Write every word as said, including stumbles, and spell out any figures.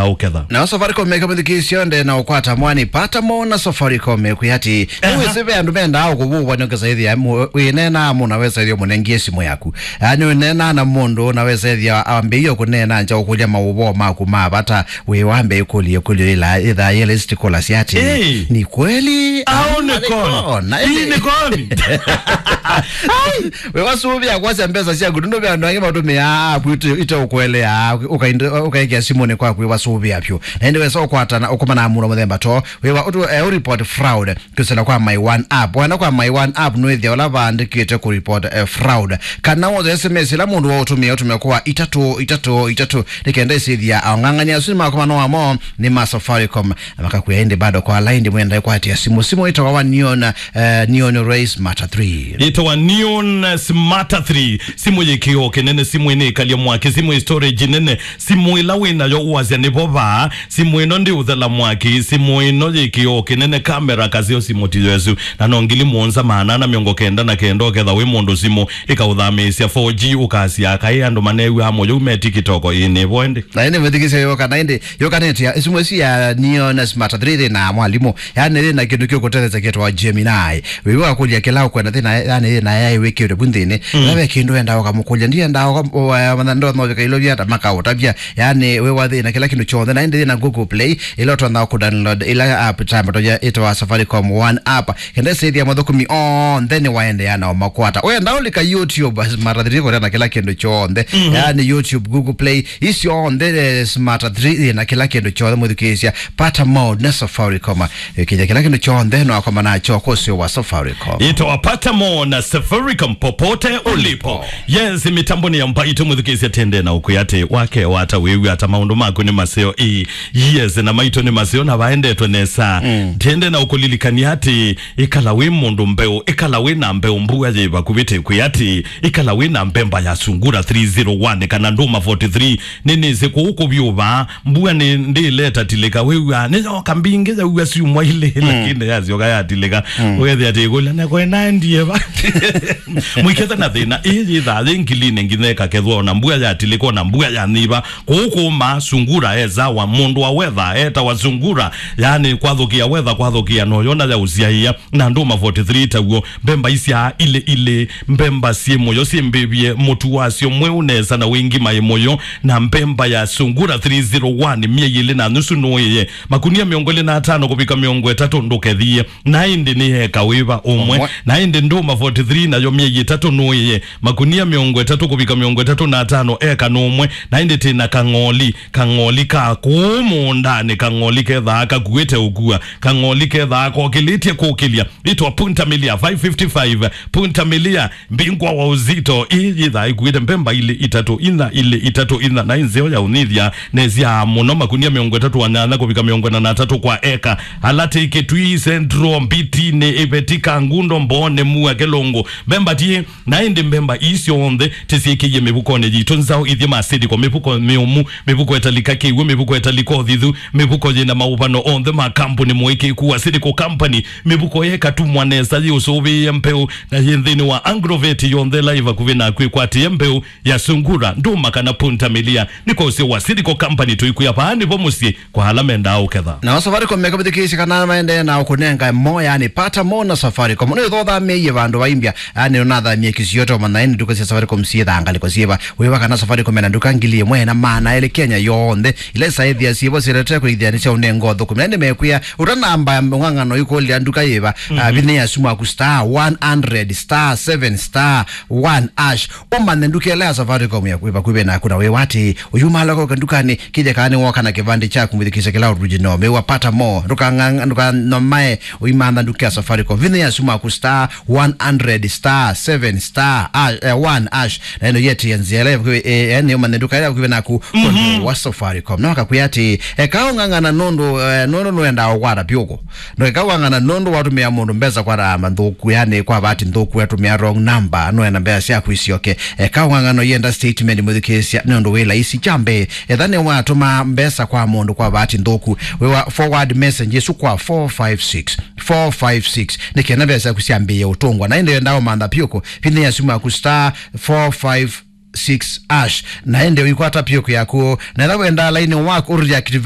ũketha. Na Safaricom meka mũthikĩĩsyo nde na ũkwata mwani pata mo na Safaricom kwĩ ati, aha, nĩwĩsĩ ve andũ mendaa ũkũvũvwa nĩ ũkesa ĩthĩa wĩneenaa mũna wesa ĩthĩa mũnengie simũ yaku. Yaani ũneenaa na mũndũ na wesa ĩthĩa ambĩie kũneena nja ũkũlya maũvoo maku ma vata, wĩ wambe ĩkũlye ĩkũlyo ĩla ĩthaa yĩla isitikola syati. Ĩĩ. Ni kweli au nĩ koni? Hii nĩ koni. Ai, we wasũvĩa kwasya mbesa syaku, nũndũ ve andũ angĩ matũmĩaa app ite, ite ũkũeleaa, ũkaende-, ũkaekea simũnĩ kwaku, we wasũvĩa vyũ. Na ĩndĩ wesa ũkwatana, ũkomana na mũndũ mũthemba to, wĩwa ũtu, eh, ũreport fraud, kwĩsĩla kwa My One app. Wenda kwa My One app, nũĩthĩa ũla vaandĩkĩte kũ report, eh, fraud. Kana wothe S M S ĩla mũndũ waũtũmĩa, ũtũmĩa kwa itatũ itatũ itatũ, nĩ kenda ĩsĩthĩa aong'ang'ania asu nĩ makomano wamo nĩ ma Safaricom. Na makakwĩa ĩndĩ bado kwa line ndĩ mwenda ĩkwatĩa simũ. Simũ ĩtawa wa Neon, eh, Neon Ray Smarter three. Ĩtawa Neon Smarter three. Simũ yĩ kĩoo kĩnene, simũ ĩnĩ ĩkalya mwaki, simũ ĩ storage nene, simũ ĩla wĩ nayo ũasya nĩ vo vaa, simũ ĩno ndĩ ũthela mwaki, simũ ĩno yĩ kĩoo kĩnene, kamera kaseo, simũ ti yesu. Na no ngili mũonza maana ana mĩongo kenda na kenda ũketha wĩ mũndũ simũ ĩkaũthamĩĩsya four G, ũkasya kaĩ andũ manew'a mũyũ me TikTok ĩnĩ vo ĩndĩ. Na ĩndĩ mwĩthikĩsya yũka, na ĩndĩ yũkanĩtya simũ ĩsu ya Neon Smarter three na mwalimũ. Yaani, yĩ na kĩndũ kĩũkũtetheesya kĩtawa Gemini. Wĩw'a wakũlya kĩla ũkwenda thĩna, yaani, yĩ na A I wĩkĩĩtwe vu nthĩnĩ. Mm. Ĩla ve kĩndũ wendaa ũkamũkũlya, ndiendaa ũka-, ũ-, eh, matha-, ndonya ũvika ilovya ta makaũtavya. Yaani, wĩwa thĩna kĩla kĩndũ kyonthe, na ĩndĩ yĩ na Google Play, ĩla ũtonya kũdownload ĩla app ta matonya ĩtawa Safaricom One app. Kenda ĩsĩthĩa mathũkũmi onthe nĩ waendeea na ũmakwata. Wenda ũlika YouTube, Smarter three kũrĩa na kĩla kĩndũ kyonthe. Mhm. Yaani YouTube, Google Play, isyonthe, eh, Smarter three yĩ na kĩla kĩndũ kyonthe mũthikĩĩsya. Pata mode na Safaricom. Ĩkĩja kĩla kĩndũ kyonthe no akoma nakyo kwa ũseo wa Safaricom. Ĩtawa Pata Mo na Safaricom popote ulipo. Yes, mĩtambo nĩ ya mbaitũ mũthikĩĩsya tende na ũkwĩa atĩ wake wata wĩw'a ata maũndũ maku nĩ maseo ii. Yes, na maitũ nĩ maseo na vaendetwe nesa. Mm. Tende na ũkũlilikania atĩ ĩkala wĩ mũndũ mbeũ, ĩkala wĩ na mbeũ mbua yĩ vakuvĩ tĩ kwĩ atĩ ĩkala wĩ na mbemba ya Sungura three zero one kana Ndũma forty-three. Nĩnĩsĩ kũu kũvyũvaa, mbua nĩ ndĩleta tilĩka, wĩw'aa nĩyoka mbingĩ yaua syumwa ilĩ, mm, lakini yasyoka yatilĩka. Mm. Ũkethĩa atĩ ĩkũlya, "Na kwena ndieva?" Mwĩketha na thĩna, ĩĩ yĩthaa yĩ ngilinĩ nginya ĩkakethwa, ona mbua yatilĩka, ona mbua yanyiva. Kũu kũũma, Sungura e sawa, mũndũ wa weather etawa Sungura, yaani kwathũkĩa weather, kwathũkĩa noyona ya ũsyaĩa. Na Ndũma forty-three taw'o, mbemba isyaa ilĩ ilĩ, mbemba syĩ mũyo syĩ mbĩvye, mũtu wasyo mweũ nesa na wĩ ngima ĩ mũyo, na mbemba ya Sungura three zero one, myei ĩlĩ na nusu nũĩe, makunia mĩongo ĩlĩ na atano kũvika mĩongo ĩtatũ ndũkethie, na ĩndĩ nĩ eka wĩva ũmwe. Ũmwe. Na ĩndĩ Ndũma forty-three nayo myei ĩtatũ nũĩe, makunia mĩongo ĩtatũ kũvika mĩongo ĩtatũ na atano eka nũmwe, na ĩndĩ tĩ na kang'oli, kang'oli ka kũũ mũũndanĩ, kang'oli kethaa kakuĩte ũkua, kang'oli kethaa kokĩlĩtye kũkĩlya. Ĩtwa Punta Milia five fifty-five, Punta Milia, mbingwa wa uzito. Ĩĩ yĩthaa ĩkuĩte mbemba ilĩ itatũ inya, ilĩ itatũ inya, na ĩ nzeo ya ũnyithya, nesyaa mũno, makunia mĩongo ĩtatũ na nyanya kũvika mĩongo ĩna na atatũ kwa eka. Ala tĩ Kitui Central, Mbitinĩ, Iveti, Kangundo, Mbooni, Mua, Kĩlũngũ, mbemba tiĩ. Na ĩndĩ mbemba ii syonthe tĩsyĩkĩie mĩvukonĩ yitũ nzaũ ithyĩ ma Silico, mĩvuko mĩũmu, mĩvuko ĩtalika kĩw'ũ, mĩvuko ĩtalika ũthithu, mĩvuko yĩ na maũvano onthe ma kambuni mũĩkĩĩku wa Silico Company, mĩvuko yekatumwa nesa yĩũsũvĩĩe mbeũ na yĩ nthĩnĩ wa Agrovet yonthe ĩla ĩ vakuvĩ naku ĩkwatĩe mbeũ ya Sungura, Ndũma kana Punta Milia. Nĩ kwa ũseo wa Silico Company tũikwĩa vaa nĩvo mũsyĩ kwa ala mendaa ũketha. Nao Safaricom mekavithikĩĩsya kana maendee na ũkũnenga mo, yani pata mo na Safaricom. Nĩ ũthothamĩie vandũ vaimbya, yani ũnathamie kĩsio to manyae nĩ nduka sya Safaricom syĩthaa ngalĩko syĩva. Wĩva kana Safaricom ena nduka ngili ĩmwe na maana elĩ Kenya yonthe. Ila isaĩthĩa syĩvo syĩlete kũithĩa nĩ sya ũnenga ũthũkũmi. Na nĩ mekwĩa, ũtanamba ũng'ang'ano ikũlya nduka yĩva, ah, vinya ya simu yaku star one hundred star seven star one hash. Ũmanye nduka ĩla ya Safaricom ya kwĩ vakuvĩ naku na wĩwa atĩ, ũyumala koka ndukanĩ, kĩthya kana nĩwoka na kĩvandĩ kyaku mwĩthukĩĩsya kĩla original. Mĩwa pata mo, ndũkang'ang'a-, ndũkanomae, ũimantha nduka ya Safaricom. Vinya ya simu yaku star one hundred star seven star, ah, eh, one hash. Na ĩno yĩtĩe nzĩa ĩla ya vakuvĩ, eh, eh, nĩ ũmanye nduka ĩla ya vakuvĩ naku, mhm, kũndũ wa Safaricom. Na wakakwĩa atĩ, eka ũng'ang'ana nũndũ, eh, nũndũ nũendaa ũkwata pyũkũ. Ndũkeka wang'ana nũndũ watũmĩa mũndũ mbesa kwa namba nthũku, yani kwa bahati nthũku watũmĩa wrong number, nũenda mbesa syaku isyoke. Eka wang'ana ũyenda statement mwĩthukĩĩsya, nĩ ũndũ wĩ laisi. Kya mbee, etha nĩwatũma mbesa kwa mũndũ kwa bahati nthũku, wĩwa forward message ĩsu kwa four five six, four five six, nĩ kenda mbesa syaku syambĩĩe ũtũngwa. Na ĩndĩ wenda ũmantha pyũkũ, vinya ya simu yaku star four five six hash. Na ĩndĩ ũikwata pyũkũ yaku, na etha wenda laini waku ũreactivate